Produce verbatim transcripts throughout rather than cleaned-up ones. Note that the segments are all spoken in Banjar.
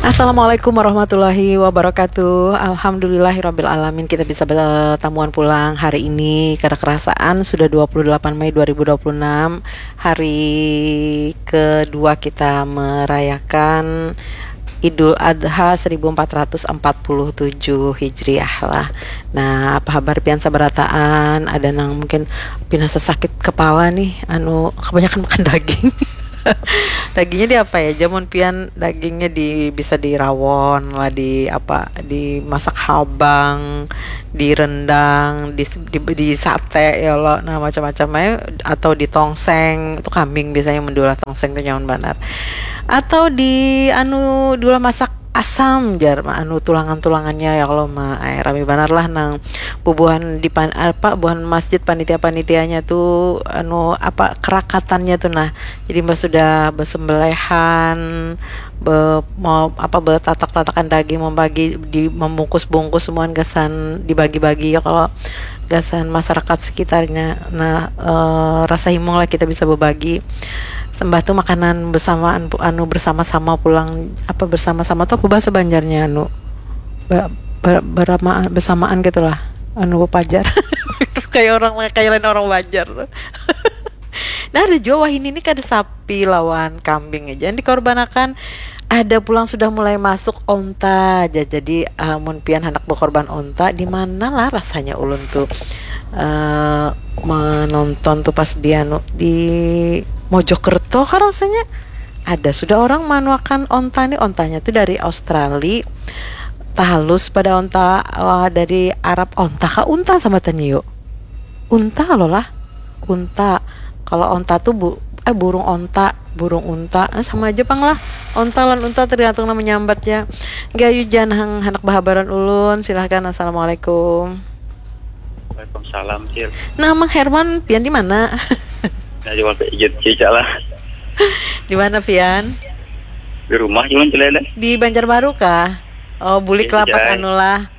Assalamualaikum warahmatullahi wabarakatuh. Alhamdulillahirabbil alamin, kita bisa bertamuan pulang hari ini. Kada kerasaan sudah dua puluh delapan Mei dua ribu dua puluh enam, hari kedua kita merayakan Idul Adha seribu empat ratus empat puluh tujuh Hijriah lah. Nah, apa habar pian sabarataan? Ada nang mungkin pina sesakit kepala nih, anu, kebanyakan makan daging. Dagingnya di apa ya? Jamun pian dagingnya di, bisa di rawon lah, di apa, dimasak habang, di rendang, di, di, di sate ya lo. Nah, macam-macam aja, atau di tongseng. Itu kambing biasanya mendulah tongseng tuh nyaman banar. Atau di anu, diulah masak asam jar, anu, tulangan-tulangannya ya kalau mah. Ai, rami banar lah nang bubuhan di pan, apa, buhan masjid, panitia-panitianya tuh, anu, apa, kerakatannya tuh, nah. Jadi mbah sudah besembelehan, be, mau apa, betatak-tatakan daging, membagi, di, membungkus-bungkus semuaan gasan dibagi-bagi ya kalau gasan masyarakat sekitarnya. Nah, eh, rasa himung lah kita bisa berbagi. Sembah tuh makanan bersamaan pu-, anu, bersama-sama pulang, apa, bersama-sama tuh apa bahasa Banjarnya, anu, be, be, berama, bersamaan gitulah, anu, pajar. Kayak orang, kayak lain orang Banjar tuh. Nah, ada jua wahini ini kada sapi lawan kambing aja yang dikorbanakan. Ada pulang sudah mulai masuk onta aja. Jadi, eh, mun pian hendak berkorban onta, di mana lah rasanya ulun tuh, eh, menonton tuh pas di anu, di Mojokerto kah rasanya. Ada sudah orang manuakan onta nih, ontanya tuh dari Australia. Tahalus pada onta, wah, dari Arab. Onta kah unta sama tanya yuk? Unta lo lah. Unta. Kalau onta tuh bu, eh, burung onta, burung unta. Eh, sama aja pang lah. Onta lan unta tergantung nama nyambatnya. Gayu jan hang, hendak bahabaran ulun, silahkan. Assalamualaikum. Waalaikumsalam, Cil. Nah, Mang Herman, pian di mana? Nah, cuma ijut cica lah. Di mana pian? Di rumah, cuman, Cil, ada. Di Banjarbaru kah? Oh, bulik lah pas anu lah.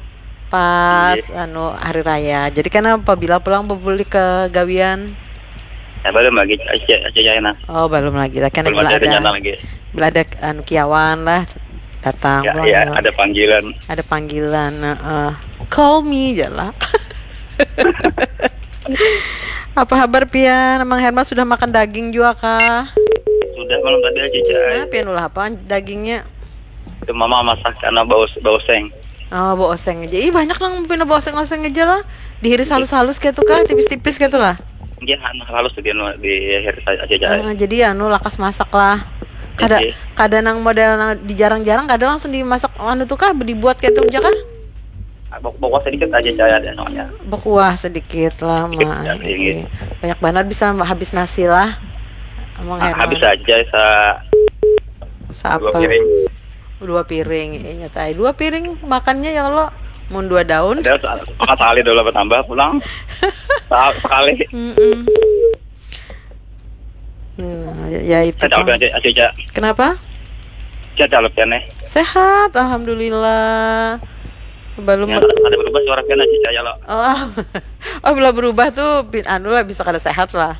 Pas, iya, anu, hari raya. Jadi kan apabila pulang bebulik ke gawian? Ya, belum lagi, aja, aja, aja, nah. Oh, belum lagi lah. Kan belum bila ada, ada rencana lagi. Bila ada, anu, kiawan lah, datang ya, pulang ya, ya. Ada panggilan. Ada panggilan, heeh. Call me je lah. Apa habar pian? Mang Herman sudah makan daging jua kah? Sudah, malam tadi aja, Cai. Nah, pian ulah apa dagingnya? Itu mama masak karena bau, bau seng. Oh, bau oseng aja. Ih, banyak nang pina bau oseng-oseng aja lah. Dihiris halus-halus gitu kah, tipis-tipis gitu lah. Iya, anu, halus tuh dia, nu, dihiris aja, Cai. Ah, jadi ya, anu, lakas masak lah. Kada, iya, kada nang model nang dijarang-jarang, kada langsung dimasak, anu tuh kah, dibuat gitu aja kah? Ah, bak-, bakuah sedikit aja, Cai, ada soalnya. Bakuah sedikit lah, sedikit, Mak. Ya, sedikit. Iya. Banyak banar bisa habis nasi lah. Mang Herman. Ah, habis aja sa-, sa-apa? Dua piring. Dua piring, iya, nyata ai. Dua piring makannya ya lo, mun dua daun. Ada sa-, makan sekali dulu bertambah pulang. Sa-, sekali. Mm-mm. Nah, ya, ya itu, Cai. Kenapa? Sehat, Cai, nih. Sehat, alhamdulillah. Belum. Ya, ada berubah suara pian aja, Cai, lo. Oh, oh, bila berubah tuh, pin-, anu lah, bisa kada sehat lah.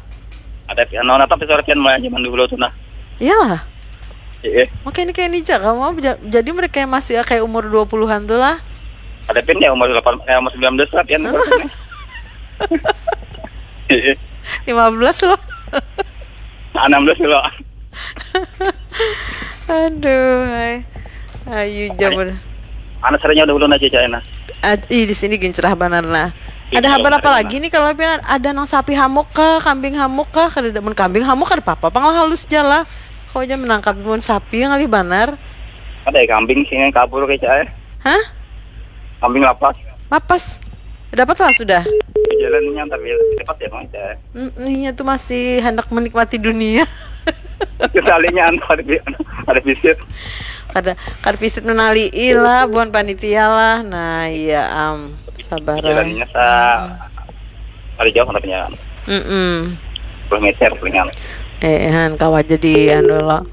Ada, anu, tapi suara pian mulai zaman dulu tuh, nah. Iyalah. Iya. Makanya kayak ini aja, kamu ja-, jadi mereka yang masih kayak umur dua puluhan tuh lah. Ada pian ya umur delapan, eh, umur sembilan belas lah, pian. Iya. Lima belas loh. Enam belas loh. Aduh, hai. Ayu jaman. Anak sarinya udah ulun aja, Cai, nah. Aj-, ih, di sini gin cerah banar, nah. Iya, ada habar apa lagi nih kalau pian ada nang sapi hamuk kah, kambing hamuk kah? Kada ada, mun kambing hamuk kada apa-apa, pang lah halus ja lah. Kau aja menangkap mun sapi ngalih banar. Ada ya kambing sini kabur kayak, Cai. Hah? Kambing lapas. Lapas. Dapat lah sudah. Jalannya ntar ya, dapat ya, Cai. Mm, iya tuh masih hendak menikmati dunia. Sekalinya anu, ada bi-, anu, ada visit. Kada, kada visit menalii lah, buhan panitia lah. Nah, iya, am, sabar. Jalannya sa-, ada jauh tapi ya. Mm-mm. Sepuluh meter palingan. Eh, han, kawa jadi anu lo.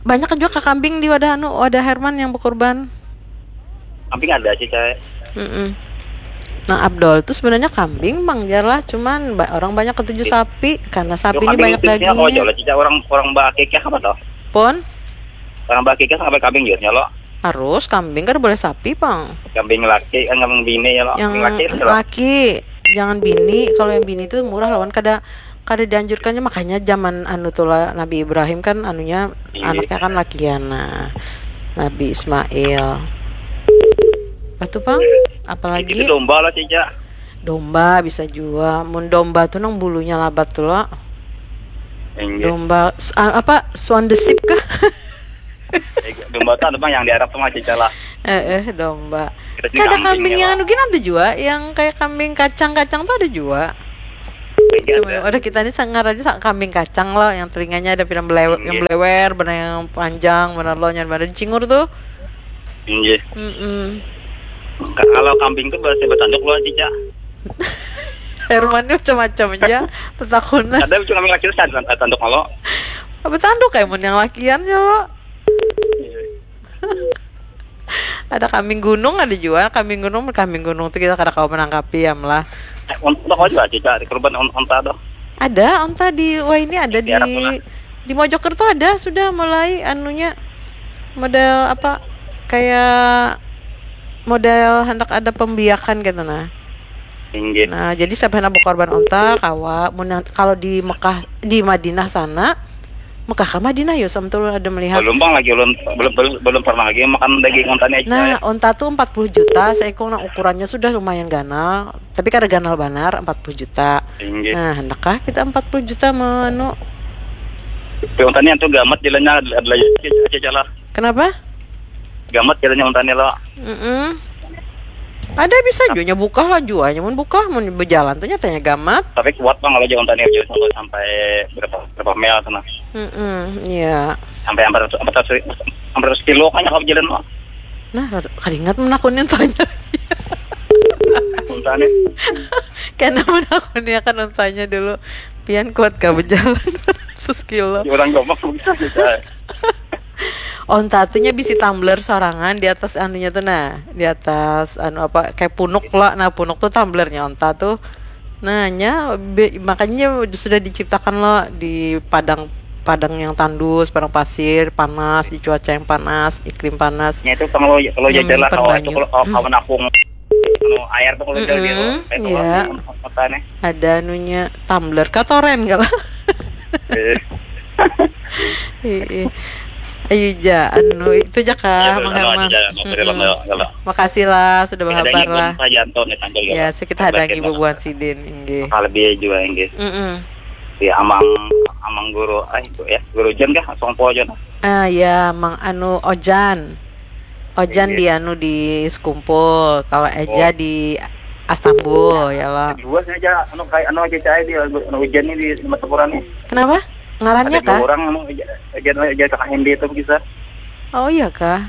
Banyak juga kambing di wadah anu, wadah Herman yang berkorban. Kambing ada sih, Cai. Mm-mm. Nah, Abdul tuh sebenarnya kambing, Bang, jar lah. Cuman ba-, orang banyak ketuju sapi karena sapi ini banyak dagingnya. Oh, jauh lah, Cica, orang, orang bakikah apa toh? Pun? Orang bakikah sampai kambing jurnya lo. Harus kambing, kada boleh sapi pang. Kambing laki kan, kambing bini ya lo. Yang Kambing laki itu lo. Laki, jangan bini. Kalau yang bini itu murah lawan, kada kada dianjurkannya. Makanya zaman anu tuh lah, Nabi Ibrahim kan anunya, Iya. Anaknya kan lakian, nah, Nabi Ismail. Batu pang, Itu apalagi domba lah, Cica. Domba bisa jua. Mun domba tuh nang bulunya labat tuh lo. Inggih. Domba s- a- apa, swan the sheep kah? Eh, domba tuh ada bang yang di Arab tuh mah, Cica lah. Eh, eh, domba. Kita sih Kada kambing kambing ya, yang Bang. Anu gin ada jua, yang kayak kambing kacang-kacang tuh ada jua. Inggih, Cuma ada. Udah kita ini sangar aja sa- kambing kacang lo, yang telinganya ada pinang belewer, yang Inggih. belewer, benar yang panjang, benar lo nyan benar cingur tuh. Inggih. Mm-mm. Ka- Kalau kambing tuh berarti bertanduk lo, Cica. Herman ini macam-macam aja tetakunan. Ada cuma kambing laki terus ada tanduk lo. Apa tanduk kayak mun yang lakian ya lo? Ada kambing gunung ada jua. Kambing gunung, kambing gunung tuh kita kada kawa menangkapi ya lah. Untuk kau juga, Cica, di korban on- onta tuh. Ada onta di, wah, ini ada di Di Arab lah. Di Mojokerto ada sudah mulai anunya, model apa, kayak model hendak ada pembiakan gitu nah. Inggih. Nah, jadi siapa yang berkorban onta kawa. Mun yang- kalau di Mekah, di Madinah sana, Mekah ke Madinah yo, sama tuh ada melihat. Belum bang lagi, belum belum belum, belum pernah lagi makan daging onta nih, Cica. Nah, onta tuh empat puluh juta seekor, nah ukurannya sudah lumayan ganal, tapi kada ganal banar, empat puluh juta. Inggih. Nah, hendakkah kita empat puluh juta menu? Tapi onta nih tuh gamat jalannya ada ada lagi, Cica lah. Kenapa? Gamat jalannya onta nih lo. Mm-mm. Ada bisa juanya bukah lah juanya, mun bukah, mun berjalan tuh nyatanya gamat. Tapi kuat bang kalau jalan onta nih, sampai sampai berapa berapa mil sana. Mm-mm, iya. Sampai hampir hampir hampir kilo kan kalau jalan lo. Nah, keringat menakuni tanya. Onta nih. Karena menakuni akan untanya dulu. Pian kuat gak berjalan seratus kilo? Ya, orang gampang bisa, Cica. Onta tuh nya bisi tumbler sorangan di atas anunya tuh nah, di atas anu apa, kayak punuk lah. Nah, punuk tuh tumblernya onta tuh. Nah, nya be- makanya nya sudah diciptakan lo di padang padang yang tandus, padang pasir, panas, di cuaca yang panas, iklim panas. Ya itu kalau kalau Yang jajar lah menyimpan kalau banyu. Itu kalau kalau menampung anu air tuh kalau jajar dia Mm-mm, itu iya. Kota nih. Ada anunya tumbler kah, toren kah lah. Eh, Iya. Ayo ja, anu itu ja kah, Ya, Mang anu Herman. aja, mau beri Mm-mm. lama, kalau Makasih lah sudah Ada bahabar yang lah. Pak Yanto nih tampil Ya, kalau. so kita hadangi Bagian bubuhan sidin, inggih. Lebih juga inggih. Mm-mm. Di amang amang guru, eh itu ya guru Jan kah, Songpo Jan. Ah ya, Mang anu Ojan. Ojan Iya. Di anu di Sekumpul, kalau Eja Oh. Di Astambul ya lo. Dua saja anu kayak anu aja cai di anu hujan nih di Matapura nih. Kenapa? Ngarannya Ada dua kah? Orang anu aja aja aja kakak Hendy itu bisa. Oh iya kah?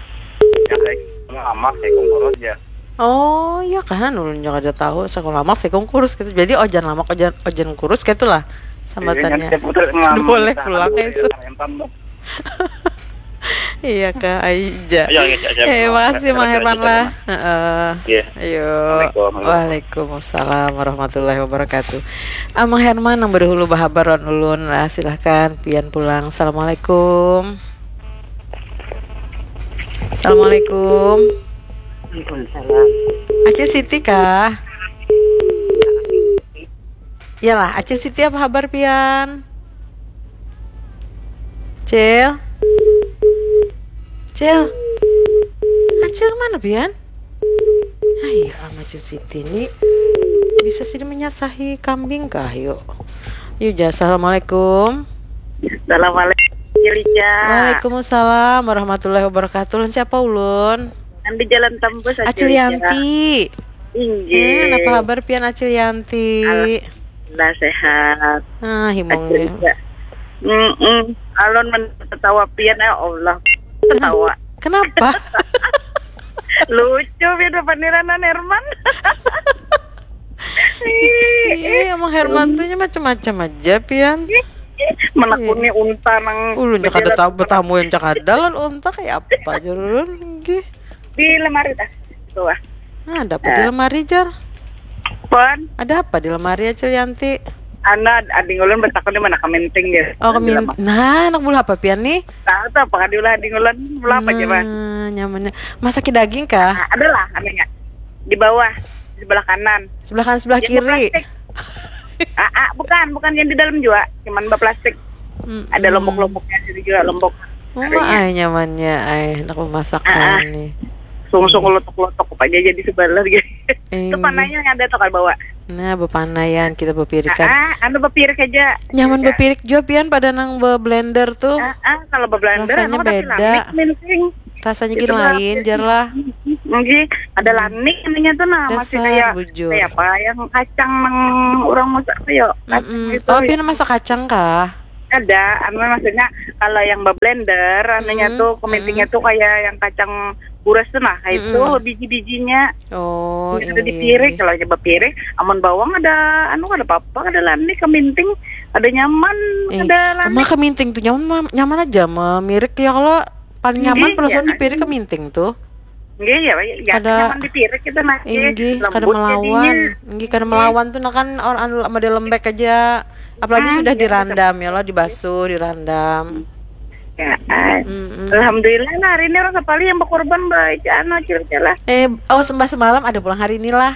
Ya kayak lama sih kongkoros ya. Oh iya kah? Ulun juga ada tahu. Sekolah lamak sih kurus gitu. Jadi Ojan lamak, Ojan Ojan kurus gitu lah sambatannya. Iya, putar Boleh pulang kayak itu. Entan tuh. Iya kah, Aija. Ayo, ayo, ayo, ayo. Eh, makasih Ayo, Mang ayo, Herman ayo, lah. ayo. Heeh. Iya. Ayo. Assalamualaikum. Waalaikumsalam warahmatullahi wabarakatuh. Ah, Mang Herman yang berhulu bahabar wan ulun lah, silahkan pian pulang. Assalamualaikum. Assalamualaikum. Waalaikumsalam. Acil Siti kah? Iyalah, Acil Siti apa kabar pian? Cil? Cil? Acil mana pian? Ah iya, Acil Siti ini bisa sini menyasahi kambing kah, yuk. Yuk, ja, assalamualaikum. Assalamualaikum, Cilica. Waalaikumsalam warahmatullahi wabarakatuh. Lawan siapa ulun? Yang di Jalan Tembus, Acil Yanti. Inggih. Hmm, apa kabar pian Acil Yanti? Alhamdulillah sehat. Ah, himungnya. Cilica. Mm-mm. Alon men ketawa pian, ya Allah. Ketawa. Kenapa? Lucu pian paniranan Herman. Iya, emang Herman tuh macam-macam aja pian. Menakuni unta nang Ulun cak ada tahu betamu yang cak ada lan unta kayak apa aja ulun nggih. Di lemari dah. Tuh. Ah. Nah, ada apa di lemari jar? Pon. Ada apa di lemari Acil Yanti? Anak ading ulun bertakun di mana keminting dia. Oh, kemin. Nah, anak bulu apa pian nih? Tahu tuh apa diulah ading ulun? Bulu apa aja, Bang? Nah, Nyamannya. Masak daging kah? Nah, adalah anunya di bawah, di sebelah kanan. Sebelah kanan, sebelah Yang kiri. Plastik. Ah, ah, bukan, bukan yang di dalam juga, cuman baplastik. Mm-mm. Ada lombok-lomboknya, ada juga lombok. Mama ay nyamannya ay, nak memasakan nih. Sungsung lotok-lotok apa aja jadi sebelah gitu. Itu Iya. panahnya yang ada tuh kalau bawa. Nah, bepanaian kita bepirikan. Ah, anu bepirik aja. Nyaman Beda. Bepirik juga pian pada nang be blender tuh. Ah, ah, kalau beblender Rasanya anu tapi beda. Lamik, minting. Rasanya Itu gini tuh lain, jar lah. Nggih, ada lanik ininya tuh nah masih Dasar kayak bujur. Kayak apa yang kacang nang orang masak kayak kacang Mm-mm. gitu. Oh, Ya. Pian masak kacang kah? Ada, anu maksudnya kalau yang beblender anunya Mm-mm, tuh kemintingnya tuh kayak yang kacang buras tuh nah, kayak itu Mm-mm. biji-bijinya. Oh, Ini ada di inggih. Pirik, kalau aja bepirik, amun bawang ada anu ada apa-apa, ada lanik keminting, ada nyaman, Eh, ada lanik. Mah keminting tuh nyaman, nyaman aja memirik ya kalau paling nyaman Iya, perasaan iya. Di Pirik keminting tuh. Nggih ya, ya, Kada nyaman di Pirik kita masih Inggih, kada lembut melawan. jadinya. Inggih, kada melawan tuh nah kan orang anu model lembek aja. Apalagi Hmm, sudah iya, dirandam ya lo, dibasuh, dirandam. Ya, ah. Mm-mm. Alhamdulillah lah hari ini orang sapali yang berkorban baik anu cerita lah. Eh, oh sembah semalam ada pulang hari inilah.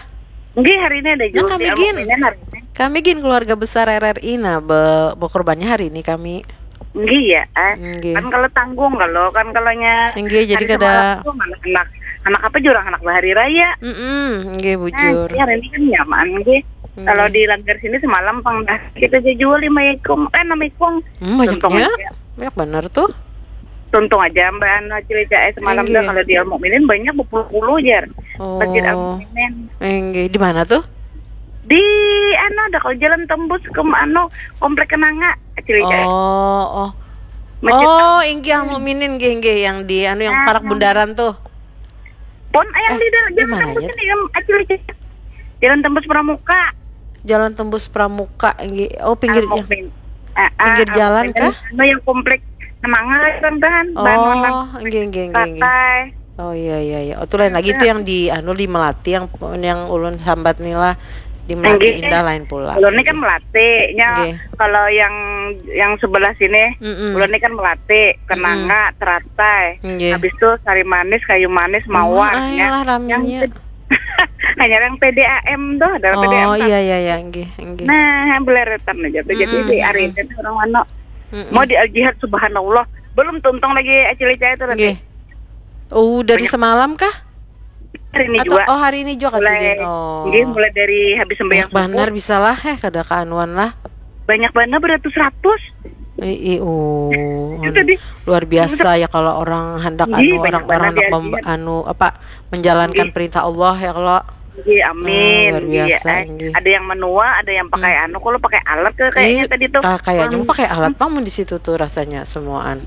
Nggih hari ini ada Nah, juga kami sih, gin. mukminnya hari ini. Kami gin keluarga besar R R I nah be berkorbannya hari ini kami. Nggih ya, ah. Nggih. Kan kalau tanggung kalau kan kalau nya Nggih, jadi hari kada semalam tuh malah anak anak apa jurang anak bahari raya. Mm-mm, nggih Nah, bujur. ya hari ini kan nyaman nggih. Nggih. Kalau di langgar sini semalam pang dah kita jual lima ikung, eh enam ikung. Hmm, Tuntung banyaknya. aja. Banyak benar tuh. Tuntung aja Mbak Anu Cilica eh semalam Nggih. Dah kalau di Al Mukminin banyak berpuluh-puluh jar. Masjid Al Oh. Mukminin. Eh, nggih. Di mana tuh? Di anu ada kalau jalan tembus ke anu komplek Kenanga Cilica. Oh, oh. Masjid Oh, inggih Al Mukminin nggih nggih yang di anu yang Ah, parak ah. Bundaran tuh. Pon yang Eh, di dalam di jalan mana tembus ya? Ini Cilica. Jalan tembus Pramuka. Jalan tembus Pramuka nggih. Oh, pinggir Al Mukmin. Ah, ah, pinggir Al jalan Mukmin. Kah? Anu yang komplek Kenanga kan. Oh, nggih nggih nggih nggih. Patai. Oh iya iya iya. Oh, tuh lain lagi itu yang di anu di Melati yang yang ulun sambat nih lah. Di Melati Nggih. Indah lain pula. Kalau ini kan Melati, nya Nggih. Kalau yang yang sebelah sini, Mm-mm. Ulun ini kan Melati, Kenanga, Teratai. Nggih. Habis itu Sari Manis, Kayu Manis, Mawar. Wah, Ya. ayolah ramenya. Hanya yang P D A M tuh, ada P D A M. Oh Kan? Iya iya iya nggih nggih. Nah, beleretan aja tuh. Jadi Mm-mm, di mm-mm. hari ini orang mana Mm-mm. Mau di Al Jihad, subhanallah. Belum tuntung lagi acil Ica itu nanti. Nggih. Oh, dari Banyak. Semalam kah? Hari ini Atau juga. Oh, hari ini juga Mulai, kasidin. Oh. Nggih, mulai dari habis sembahyang Banyak banar subuh. Bisa lah eh kada kaanuan lah. Banyak banar beratus-ratus. Ih, ih, oh. Itu tadi. Luar biasa ya kalau orang hendak Nggih, anu, banyak orang-orang banget hendak ya, mem- iya. Anu apa menjalankan Nggih. Perintah Allah ya kalau. Nggih, amin. Oh, luar Nggih, ya, biasa, eh. Nggih. Ada yang menua, ada yang pakai Hmm. Anu kalau pakai alat ke kayaknya Ih, tadi tuh. ah, kayaknya mau pakai alat pang mun di situ tuh rasanya semuaan.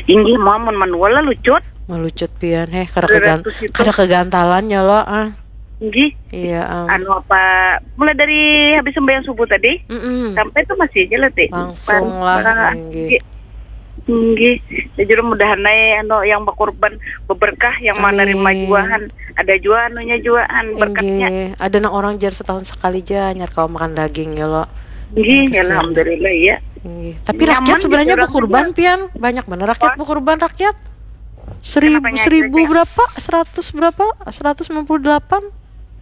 Inggih, mau mun manual lah lucut. Melucut pian heh kada kegan- Beratus itu. Kada kegantalan ya lo ah. Inggih. Iya am. Anu apa? Mulai dari habis sembahyang subuh tadi Mm-mm. sampai tuh masih aja lah, Ti. Langsung Pan- lah, ah, inggih. Inggih. Jadi mudahan ae anu yang berkorban beberkah yang Amin. Menerima juahan. Ada jua anunya juahan berkatnya. Inggih. Ada nang orang jar setahun sekali ja nyar kawa makan daging ya lo. Inggih, Kesian. Alhamdulillah ya. Inggih. Tapi Nyaman rakyat sebenarnya gitu, berkorban orang pian banyak bener rakyat Apa? Berkorban rakyat. Seribu Kenapanya seribu gitu, Cak? Berapa? Seratus berapa? Seratus sembilan puluh delapan.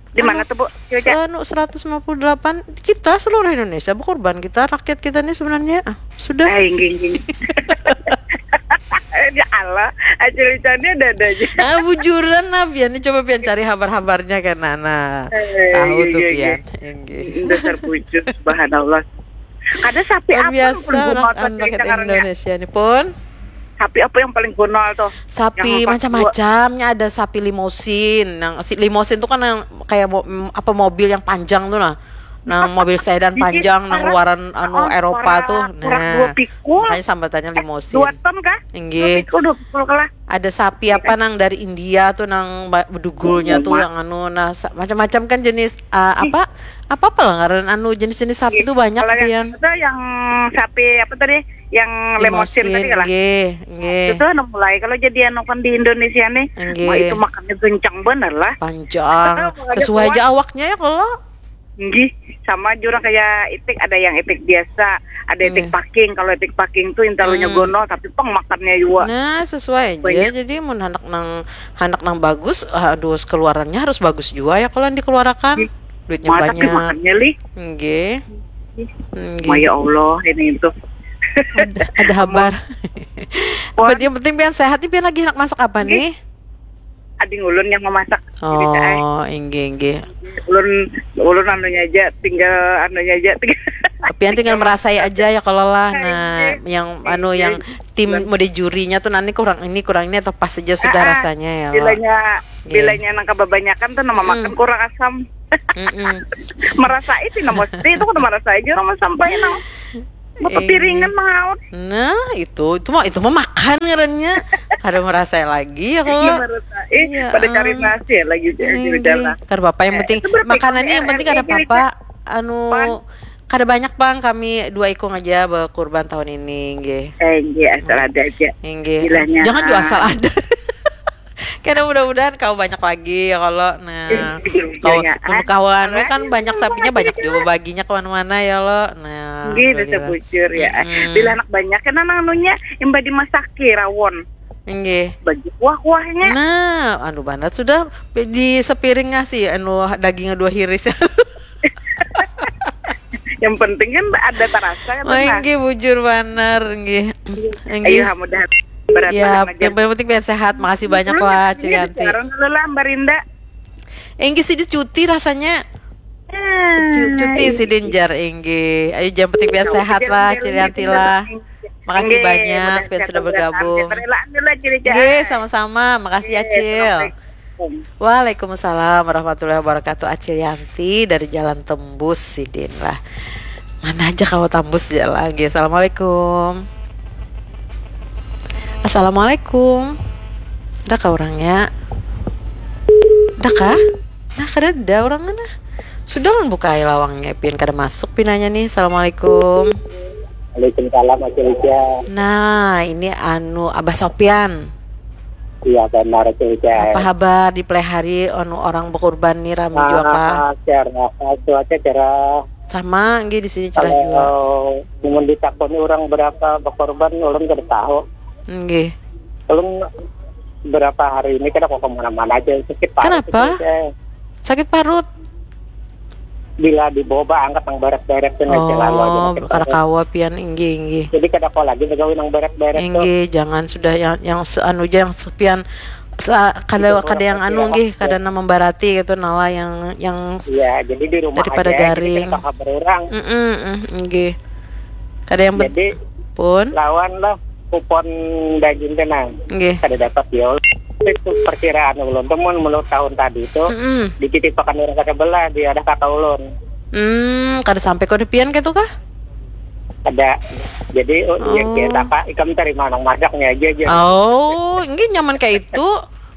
Di mana tuh, Bu? Coba, Cak. Anu seratus sembilan puluh delapan kita seluruh Indonesia berkorban kita rakyat kita nih sebenarnya ah, sudah. Ah, inggih, inggih. Ya Allah, acil Ica ini ada-ada aja. Ah bujuran lah pian ini coba pian cari habar-habarnya kan nah, nah. Eh, Tahu iya, tuh iya, pian. Inggih. Dasar bujur, subhanallah. Ada sapi Luar apa biasa pun anak gomol anak sekarang ya. Indonesia ini pun Sapi apa yang paling gomol tuh? Sapi Yang empat macam-macamnya ada sapi limosin. Yang si limosin tuh kan yang kayak mo- mm, apa mobil yang panjang tuh nah. Nah, mobil sedan Jadi, panjang nang orang- luaran anu orang- Eropa orang- tuh. orang Nah, dua pikul. Makanya sambatannya limosin. Dua ton kah? Inggih. Dua pikul, dua pikul kalah. Ada sapi apa nang dari India tuh nang ba- bedugulnya Oh, tuh ma- yang anu nah sa- macam-macam kan jenis ah, apa apa apa lah ngaran anu jenis-jenis sapi tuh banyak Kalau yang pian. Itu yang sapi apa tadi? Yang limosin tadi lah. Nggih, nggih. Itu anu mulai kalau jadi anu kan di Indonesia nih. Nggih. Wah, itu makannya kencang bener lah. Panjang. Makanya Sesuai kuat. Aja awaknya ya kalau. Nggih, sama jua kaya itik, ada yang itik biasa, ada itik Nggih. Paking. Kalau itik Paking tu intalunya Hmm. gonol tapi pang makannya jua. Nah, sesuai aja. Banyak. Jadi mun handak nang handak nang bagus, aduh keluarannya harus bagus jua ya kalau dikeluarakan. Nggih. Duitnya Mah tapi banyak. Makannya lih. Nggih. Nggih. Wah, ya Allah, ini itu. Ada, ada habar. Pon. Yang penting pian sehat nih, pian lagi handak masak apa Nggih. Nih? Ading ulun yang memasak. Jadi, saya, Oh, inggih inggih. ulun ulun anunya aja, tinggal anunya aja, tinggal Pian tinggal merasai aja ya kalau lah. Nah, Inggih. Yang anu Inggih. Yang tim mode jurinya tuh nanti kurang ini kurang ini atau pas aja sudah Ah, ah. Rasanya ya lo. Bilanya Nggih. Bilanya nang kebanyakan tuh nama Mm-mm. Makan kurang asam. Mm-mm. Merasa itu nama mesti itu kudu merasa aja orang sampai nang mau Iya. Piringan mangaut. Nah, itu itu mah itu mah makan ngarannya. Kada merasa lagi ya Ini kalau. merasa eh Iya, pada cari ah. Nasi ya lagi jadi Ini jalan. Kada apa-apa yang Eh, penting itu berarti makanannya yang R R penting G kada jadi apa-apa. Anu Pan. Kada banyak bang, kami dua ikung aja berkurban tahun ini, nggih. Eh, nggih, asal ada aja. Nggih. Bilanya, Jangan juga ah. Asal ada. Karena mudah-mudahan kau banyak lagi ya kalau nah Iya, kau iya, mun ah. kawan lu kan Makasih, banyak sapinya makasih, banyak Kak. Juga baginya kemana-mana ya lo nah Nggih, bisa alhamdulillah. Bujur ya. Mm-mm. Bila anak banyak kan anunya yang badi masaki rawon. Nggih. Bagi kuah-kuahnya. Nah, anu banget sudah di sepiring ngasih anu dagingnya dua hiris. Yang penting kan ada terasa kan. Oh, nggih bujur banar nggih. Ayo Nggih. Mudah berat Ya, aja. Yang penting pian sehat. Makasih banyak Hmm, lah ini Cilianti. Sekarang dulu lah Mbak Rinda. Inggih sidin cuti rasanya. Hmm, Cu- Cuti sidin jar inggih. Ayo yang penting pian Jauh sehat aja lah Mbak Cilianti Rinda. Lah. Makasih Nggih, banyak mudah pian sehat sudah mudah sehat. bergabung. Relaan dulu Cilianti. Nggih, sama-sama. Makasih Nggih, Acil. Assalamualaikum. Waalaikumsalam warahmatullahi wabarakatuh. Acil Yanti dari Jalan Tembus sidin lah. Mana aja kau tambus jalan. Nggih, assalamualaikum. Assalamualaikum. Ada kah orangnya? Ada kah? Nah, kada ada orangnya nah. Sudah lah buka lawangnya pian kada masuk pinanya nih. Assalamualaikum. Waalaikumsalam Acil Ica. Nah, ini anu Abah Sopian. Iya benar Acil Ica. Apa habar di pelihari anu orang berkurban nih rame juga kah? Ah, cerah. Cuaca cerah. Sama nggih di sini cerah juga. Kalau mun ditakoni orang berapa berkorban, orang kada tahu. Nggih. Belum berapa hari ini kada kok kemana-mana aja sakit parut Kenapa? Acil Ica. Sakit parut. Bila dibawa angkat yang barat-barat kan aja lalu aja Oh, sakit kada parut. Kawa pian inggih inggih. Jadi kada kau lagi begawi yang barat-barat tuh. Inggih, jangan sudah yang yang se- anu aja yang sepian sa- kada Itu kada yang orang anu sepian. Nggih, kada nang membarati gitu nala yang yang Iya, jadi di rumah Daripada aja, jadi garing. kada kabar orang. Mm-mm, mm, nggih. Kada yang Jadi pun. Lawan lah kupon daging tenang. Nggih. Kada dapat ya Allah. Itu perkiraan ulun tuh mun menurut tahun tadi itu Mm-mm. dititipakan orang kada belah di ada kata ulun. Hmm, kada sampai kode pian gitu kah? Ada. Jadi oh, iya Oh. kita kak ikam terima nang madaknya aja aja. Oh, ini nyaman kayak itu.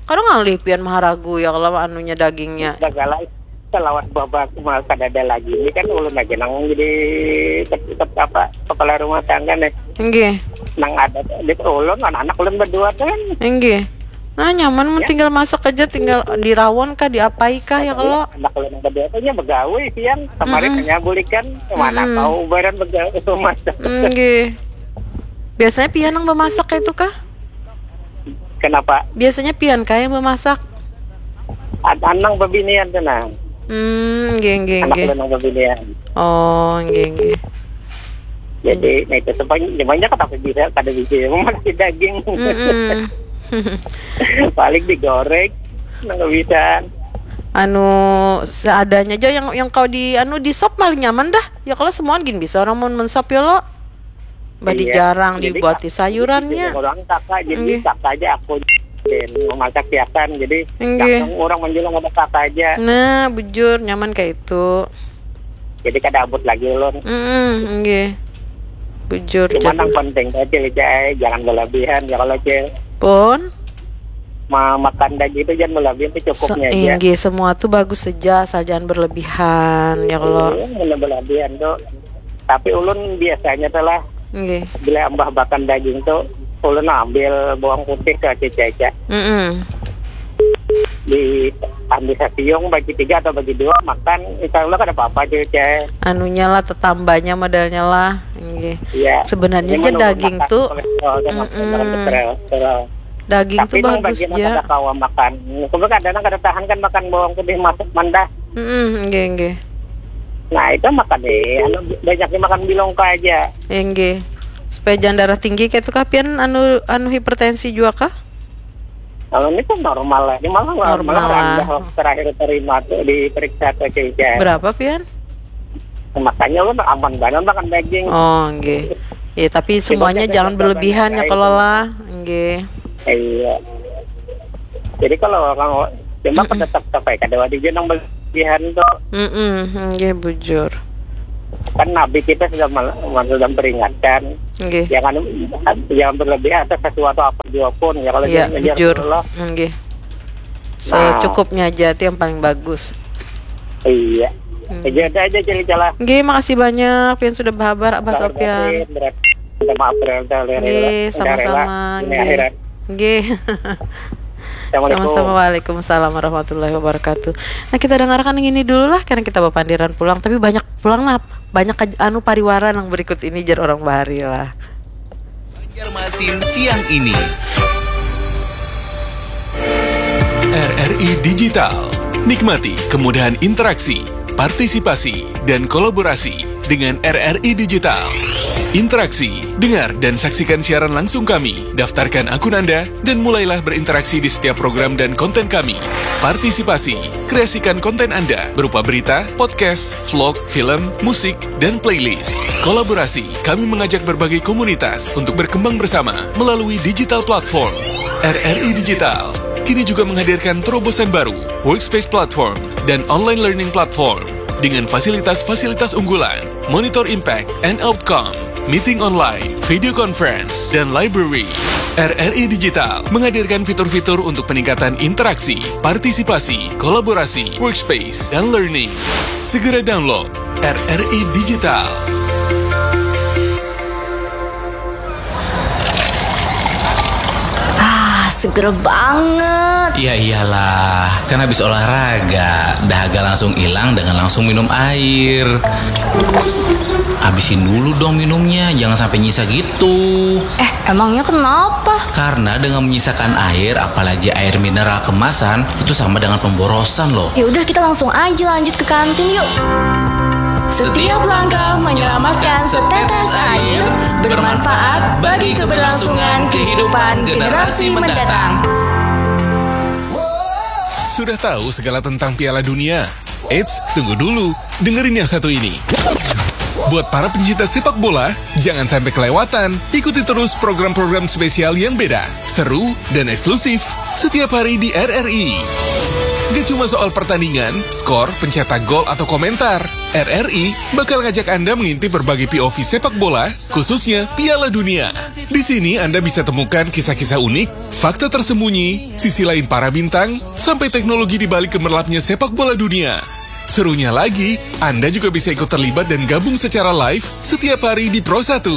Kadang ngalih pian maharagu ya kalau anunya dagingnya. Segala selawat babak mah kada ada lagi. Ini kan ulun aja nang jadi ket- ket- apa kepala rumah tangga nih. Nggih. Nang ada di ulun anak-anak ulun berdua kan. Nggih. Nah, nyaman mun Ya. Tinggal masak aja, tinggal dirawon kah, diapai kah ya kalau. Anak ulun berdua tuh nya begawe siang kemarin Mm-mm. hanya bulikan kemana Mm-mm. tahu barang begawe masak. Nggih. Biasanya pian yang memasak kayak itu kah? Kenapa? Biasanya pian kah yang memasak? Ad- Anang bebinian tuh nah. Hmm, nggih nggih Anak nggih. ulun nang bebinian. Oh, nggih nggih. Jadi nah itu sepanjang semuanya kata bisa kada bisa memasak daging. Mm-mm. Paling digoreng nang bisa. Anu, seadanya aja yang yang kau di anu di sop paling nyaman dah. Ya kalau semuaan gin bisa orang mau mensop ya lo. Badi Iya. jarang Jadi, dibuati kak- sayurannya. Jadi orang kakak jadi Nggih. kakak aja aku dan memasak siakan jadi Nggih. langsung orang menjual ada kakak aja. Nah, bujur nyaman kayak itu. Jadi kada abut lagi ulun. Mm, nggih. Bujur. Cuma Jadi. Yang penting aja Cil, jangan berlebihan ya kalau cil. Pun. Ma makan daging itu jangan berlebihan itu Se- cukupnya aja. Nggih, semua tuh bagus saja asal jangan berlebihan ya kalau. Iya, jangan berlebihan tuh. Tapi ulun biasanya telah Nggih. bila ambah makan daging tuh ulun ambil bawang putih ke cica-cica Mm-mm. di Ambil sasiung bagi tiga atau bagi dua, makan, insya Allah kada apa-apa, cuy. Anunya lah, tetambanya modalnya lah. Nggih. Iya. Sebenarnya aja daging tuh, daging tuh bagus ya. Tapi bagus bagian kada kawa makan. Kadang kada tahan kan makan bawang putih masuk mandah. Mm-mm, nggih, nggih. Nah, itu makan deh. Anu, banyaknya makan bilongka aja. Nggih. Supaya jangan darah tinggi kayak itu kah, pian anu, anu hipertensi juga kah? Kalau ini tuh normal aja, malah normal malah rendah lah. Waktu terakhir terima tuh diperiksa ke C C R. Berapa, pian? Makanya lu aman banget makan daging. Oh, nggih. Ya, tapi semuanya jangan berlebihan ya kalau lah. Nggih. Iya. Jadi kalau kamu cuma hmm tetap kayak kada wajib nang berlebihan tuh. Mm-mm, nggih, bujur. Kan Nabi kita sudah mal- sudah memperingatkan, nggih, jangan jangan berlebihan atas sesuatu apa jua pun ya, kalau iya, jangan ngejar bujur Allah. Nggih. Nah. Secukupnya aja, itu yang paling bagus. Iya. Hmm. Jadi ada aja cerita lah. Nggih, makasih banyak pian sudah berhabar, Abah Sofian. Minta maaf, berarti nggih, sama-sama. Nggih. Nggih. Assalamualaikum. Sama-sama, waalaikumsalam warahmatullahi wabarakatuh. Nah, kita dengarkan yang ini dulu lah, karena kita bapandiran pulang, tapi banyak pulang lah, banyak kaj- anu pariwara yang berikut ini, jar orang bahari lah. Banjarmasin siang ini. R R I Digital. Nikmati kemudahan interaksi, partisipasi, dan kolaborasi dengan R R I Digital. Interaksi, dengar dan saksikan siaran langsung kami. Daftarkan akun Anda dan mulailah berinteraksi di setiap program dan konten kami. Partisipasi, kreasikan konten Anda berupa berita, podcast, vlog, film, musik, dan playlist. Kolaborasi, kami mengajak berbagai komunitas untuk berkembang bersama melalui digital platform. R R I Digital kini juga menghadirkan terobosan baru, Workspace Platform dan Online Learning Platform, dengan fasilitas-fasilitas unggulan, monitor impact and outcome, meeting online, video conference, dan library. R R I Digital menghadirkan fitur-fitur untuk peningkatan interaksi, partisipasi, kolaborasi, workspace, dan learning. Segera download R R I Digital. Ah, seger banget. Ya iyalah, kan habis olahraga, dahaga langsung hilang dengan langsung minum air. Habisin dulu dong minumnya, jangan sampai nyisa gitu. Eh, emangnya kenapa? Karena dengan menyisakan air, apalagi air mineral kemasan, itu sama dengan pemborosan loh. Ya udah, kita langsung aja lanjut ke kantin yuk. Setiap langkah menyelamatkan setetes air, bermanfaat bagi keberlangsungan kehidupan generasi mendatang. Sudah tahu segala tentang Piala Dunia? Eits, tunggu dulu. Dengerin yang satu ini. Buat para pencinta sepak bola, jangan sampai kelewatan. Ikuti terus program-program spesial yang beda, seru, dan eksklusif setiap hari di R R I. Gak cuma soal pertandingan, skor, pencetak gol, atau komentar. R R I bakal ngajak Anda mengintip berbagai P O V sepak bola, khususnya Piala Dunia. Di sini Anda bisa temukan kisah-kisah unik, fakta tersembunyi, sisi lain para bintang, sampai teknologi di balik gemerlapnya sepak bola dunia. Serunya lagi, Anda juga bisa ikut terlibat dan gabung secara live setiap hari di Pro satu.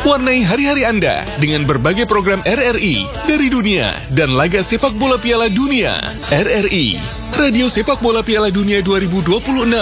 Warnai hari-hari Anda dengan berbagai program R R I dari dunia dan laga sepak bola Piala Dunia. R R I, Radio Sepak Bola Piala Dunia dua ribu dua puluh enam.